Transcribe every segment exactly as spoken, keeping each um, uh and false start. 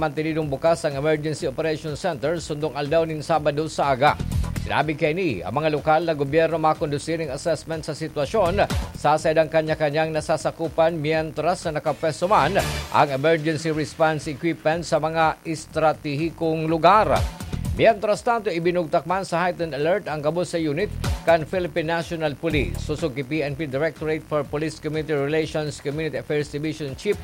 Mantenidong bukas ang Emergency Operation Center sundong aldaw nin Sabado sa aga. Sinabi kaini, ang mga lokal na gobyerno makondusir ning assessment sa sitwasyon sa saidang kanya-kanyang nasasakupan, mientras na nakapwesto man ang emergency response equipment sa mga estratehikong lugar. Mientras tanto, ibinugtak man sa heightened alert ang gabos sa unit kan Philippine National Police. Sosog ki P N P Directorate for Police Community Relations Community Affairs Division Chief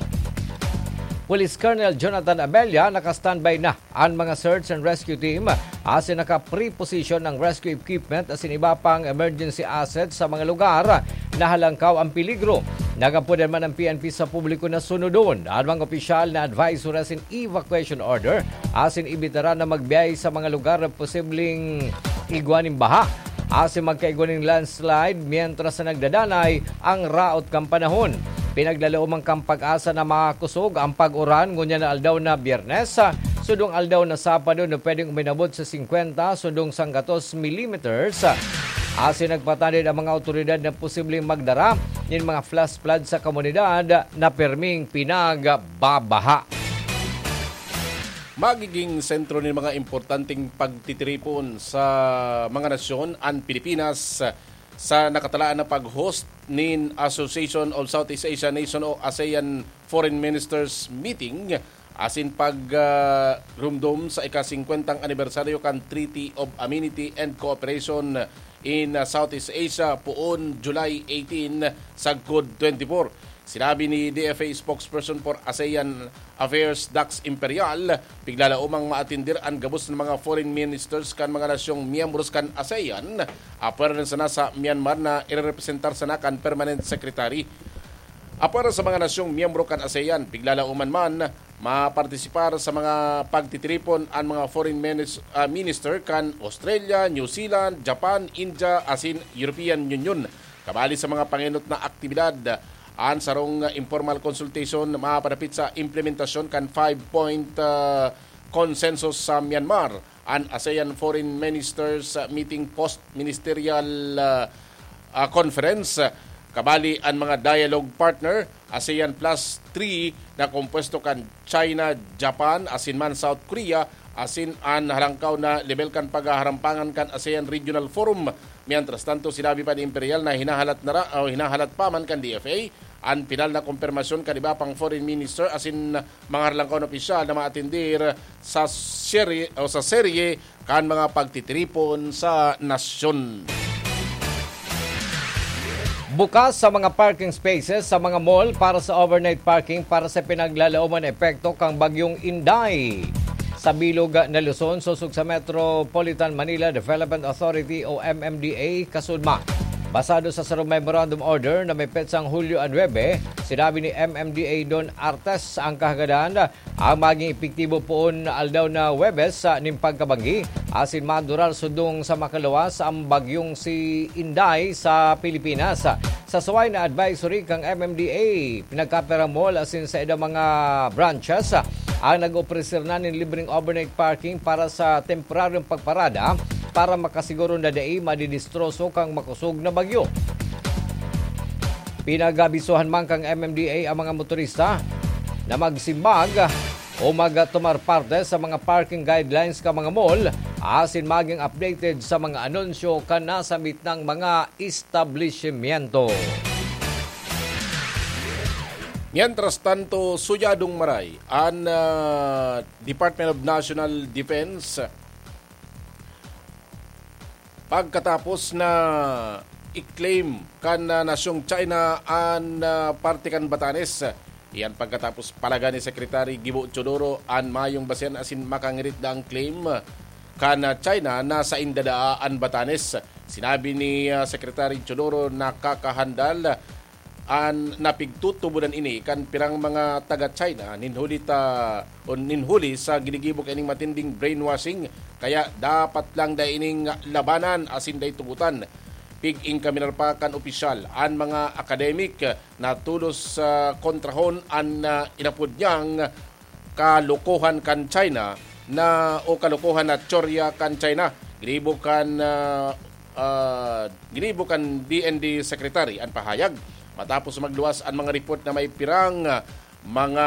Police Colonel Jonathan Abella, naka-standby na an mga search and rescue team, asin naka-pre-position ang rescue equipment asin iba pang emergency assets sa mga lugar na halangkaw ang peligro. Nagapoder man ang P N P sa publiko na sunodon an mga opisyal na advisory asin evacuation order asin ibitaran na magbiyahe sa mga lugar na posibleng igwa nin baha asin magkaigwa nin landslide mientras na nagdadanay ang raot kan panahon. Pinaglalaoman kan PAGASA na makosog ang pag-uran ngunyan na aldaw na Biyernes, sundong aldaw na Sabado na pwedeng uminabot sa singkwenta sundong sanggatos millimeters. Asin nagpatanid ang mga awtoridad na posibleng magdara nin mga flash flood sa komunidad na perming pinagbabaha. Magiging sentro nin mga importanteng pagtitiripon sa mga nasyon an Pilipinas sa nakatalaan na pag-host nin Association of Southeast Asian Nation o ASEAN Foreign Ministers Meeting asin pag, ah, rumdom sa ika-singkwentang anibersaryo kan Treaty of Amenity and Cooperation in, ah, Southeast Asia poon July eighteen sagkod twenty-four. Sinabi ni D F A spokesperson for ASEAN Affairs Dax Imperial, piglalaomang maatindir an gabos na mga foreign ministers kan mga nasyong miyembros kan ASEAN, apwera na sana sa Myanmar na irerepresentar sana kan permanent secretary. Apwera sa mga nasyong miyembro kan ASEAN, piglalaoman man mapartisipar sa mga pagtitiripon an mga foreign minis-, ah, minister kan Australia, New Zealand, Japan, India, asin European Union. Kabali sa mga pangenot na aktibidad, an sarong informal consultation mapadapit sa implementasyon kan five-point, ah, consensus sa Myanmar, an ASEAN Foreign Ministers Meeting Post-Ministerial, ah, ah, Conference, kabali an mga dialogue partner, ASEAN Plus three, na kompuesto kan China, Japan, asin man South Korea, asin an halangkaw na lebel kan paghaharampangan kan ASEAN Regional Forum. Mientras tanto, sinabi pa ni Imperial na hinahalat na ra-, o hinahalat pa man kan D F A an pinal na kompermasyon kan iba pang foreign minister asin mga halangkaw na opisyal na maatindir sa serye o sa serye kan mga pagtitiripon sa nasyon. Bukas sa mga parking spaces sa mga mall para sa overnight parking para sa pinaglalaoman na epekto kang Bagyong Inday. Sa bilog na Luzon, sosog sa Metropolitan Manila Development Authority o M M D A, kasudma. Basado sa sarong memorandum order na may petsang Hulyo a nuebe, sinabi ni M M D A Don Artes ang kahagadan ang maging epektibo poon aldaw na Huwebes sa nin pagkabanggi asin madurar sundong sa makaluwas ang bagyong si Inday sa Pilipinas. Sa suway na advisory kang M M D A, pinagkapera mall asin sa edang mga branches ang nag-opreser na nin libreng overnight parking para sa temporaryong pagparada para makasiguro na dai madidistroso kang makosog na bagyo. Pinag-abisohan man kan M M D A ang mga motorista na magsimbag o magtumar parte sa mga parking guidelines kan mga mall asin maging updated sa mga anunsyo kan nasambit na mga establishmento. Mientras tanto, suyadong maray an, ah, Department of National Defense pagkatapos na i-claim kan, ah, nasyong China an, ah, parte kan Batanes. Iyan pagkatapos palagan ni Secretary Gibo Teodoro an mayong basehan asin makangirit daang claim kan, ah, China na sainda daa an Batanes. Sinabi ni, ah, Secretary Teodoro na kakahandal an napigtutubodan ini kan pirang mga taga-China nin huli ta, o nin huli sa ginigibo kaining matinding brainwashing, kaya dapat lang dai ining labanan asin dai tugotan. Pig-ingkaminar pa kan opisyal an mga academic na tolos sa kontrahon an, ah, inapod niyang kalokohan kan China na, o kalokohan na teorya kan China. Ginibo kan, ah, ah, ginibo kan D N D Secretary an pahayag matapos magluwas an mga report na may pirang, ah, mga